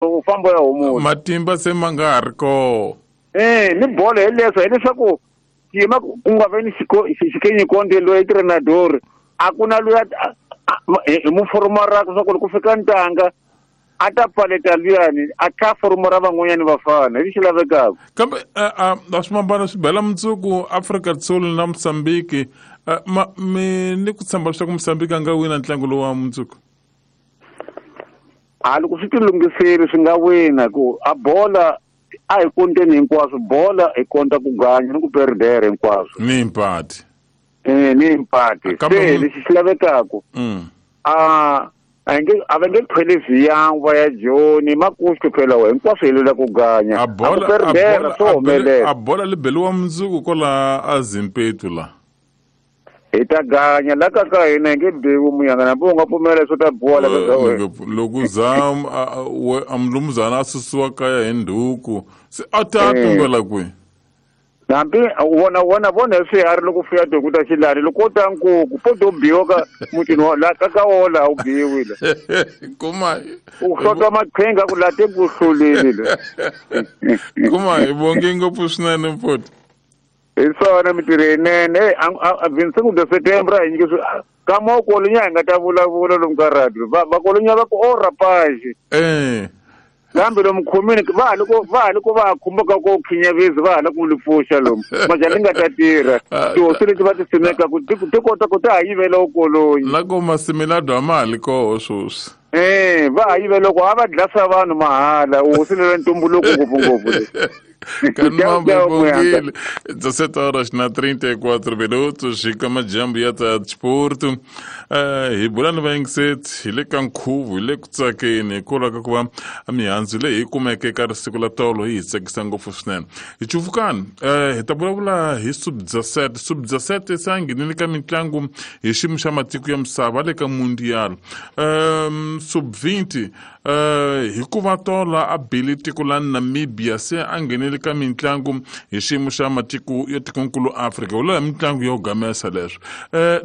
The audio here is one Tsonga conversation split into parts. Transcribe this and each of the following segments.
U famba ya humula. Matimba se ma nga ha ri koho. Ni bolo hi leswo hileswaku xiyima ku nga ve ni xikenyi konde loyi trenador a ku na loyi hi muforomara swa ku loko ku fika ntanga a ta pfaleta luyani a tlha foromara van'wanyani vafana hi lexi lavekaka. Kambe a swimambano swi bela mundzuku Afrika Dzonga na Mozambique, mi ni ku tshemba leswaku Mozambique a nga wina ntlangu lowu wa mundzuku? A loko swi tilunghiseli swi nga wina ku a bola a hi konteni hinkwaswo, bola hi konta ku ganya ni ku perdere hinkwaswo ni impati. Ni impati. Se lexi xi lavekaka a a va nge khweli viyangwa ya Joni makuxu phela wa hinkwaswo hi lwela ku ganya. A bola perdera swo humelela. A bola li beliwa mundzuku kwala a Zimpetu la. Hi ta ganya la ka ka hina hi nge biwi muyanga nambi u nga pfumela leswo ta biwa la ka wena. Loko za a mulumuzana a susiwa kaya hi ndhuku se a ta tumbela kwihi? Hambi wona vona hi swiharhi loko fuya tihuku ta xilani loko u ta nkuku po to biwa ka mutini wa la ka ka wona laha u biwile. Kuma u hlota maqhinga ku la te ku hlulile le. Kuma hi vonge ngopfu swinene mfoti. Hi swona mintirho yinene. 25 de setembro a hi nyike ka mokolonya hi nga ta vulavula lomu ka radio. Vakolonya va ku o rapage. Kambe lomu khomini va ha loko va khumbaka ko khinyavezi va ha la ku li pfuxa lomu. Majani nga ta tirha. Tihosi leti va ti simekaka ti kota ku ta ha yivela ukolonyi. La ko masimilado a ma ha li koho sweswi. Va ha yivela ku a va dlasa vanhu mahala hosi lela ntumbuluko ngopfungopfu le. Kanmambe bongile 17 horas na 34 minutos xika majambu ya ta Desporto. Hi bula ni vayingiseti hi le ka nkhuvo hi le ku tsakeni hikwalaho ka ku va mihandzu leyi hi kumeke eka risiku la tolo yi hi tsakisa ngopfu swinene. Hi cuvukani hi ta vulavula hi Sub-17. Sub-17 se a nghenile ka mitlangu hi xiyimo xa matiko ya misava le ka Mundial. Sub-20 hikuva tola a bile tiko la Namibia se a nghenele ka mitlangu hi xiyimo xa matiko ya tikonkulu Afrika. Wula mitlangu yo gamesa leswo.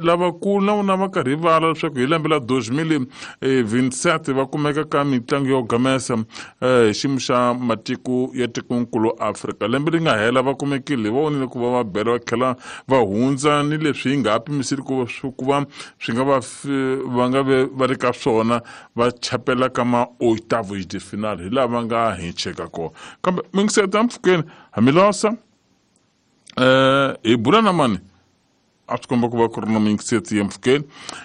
Lavakulu na vona va karhi vala leswaku hi lembe la 2027 va kumeka ka mitlangu yo gamesa hi xiyimo xa matiko ya tikonkulu Afrika. Lembe leri nga hela va kumekile va vonile ku va va bela va tlhela va hundza ni leswi hi nga ha pimiseli ku va swi nga va va nga ve va ri ka swona va chapela ka ma oitavos de final hi laha va nga hincheka kona. Kambe mingiseta mpfhukeni hamilosa hi bula na mani a swi komba ku va ku ri na mingiseti ya mpfhukeni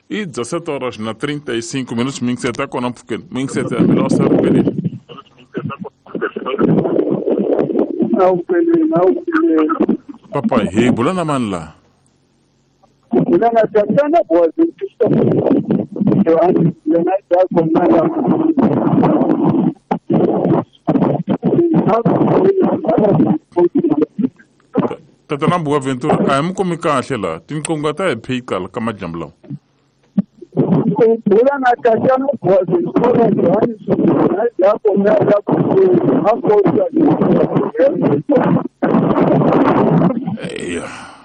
i 17 horas na 35 minutos mingiseti ya kona mpfhukeni mingiseti ya milosa ripelile. Papa hi bula na mani laha? Bula na Tatana Boaventura. Tatana Boaventura a hi mi kumi kahle laha tinqingho ta hi phiqa ka madyambu lawa. Bula na Tatana Boaventura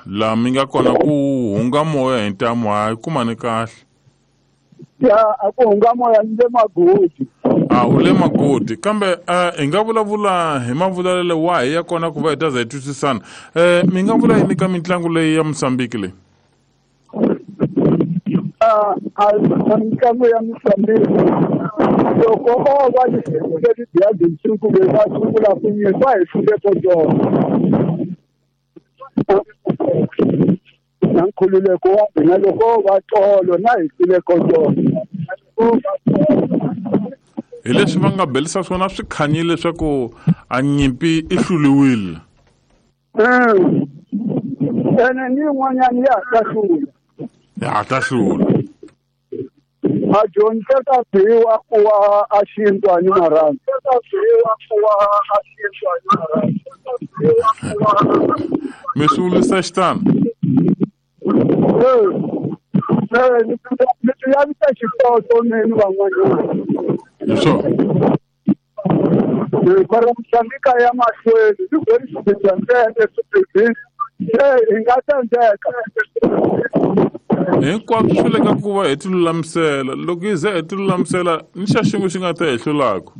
Laha mi nga kona ku hunga moya hi ntamu hayi kumani kahle. Ya a ku hunga moya ni le Magodi. A u le Magodi kambe hi nga vulavula hi mavulavulelo wahi ya kona ku va hi ta za hi twisisana. Mi nga vula yini ka mitlangu leyi ya Mozambique leyi? A mitlangu ya Mozambique loko o va yi hlule tibiya tinsuku va sungula ku nyika hi hlule ko tona. Na nkhululeko wa hina loko va tolo na hi hlule ko tona. Hi leswi va nga belisa swona swi khanyile leswaku a nyimpi i hluliwile. Ene ni yin'wanyana ya ha ta hlula. Ya ha ta hlula. A dyondza ka biwa ku wa a xintwa ni marhandzu. Mi swi vulisa xitano? Mi swi lavisa xitoto ni van'wanyana. Hi swona. Mara Mozambique ya mahlweni ni ku ri xiphiqo ntsena swiphiqo hi nga tsandzeka. Hinkwaswo swi le ka ku va hi tilulamisela. Loko hi ze hi tilulamisela ni xa xin'we xi nga ta hi hlulaka.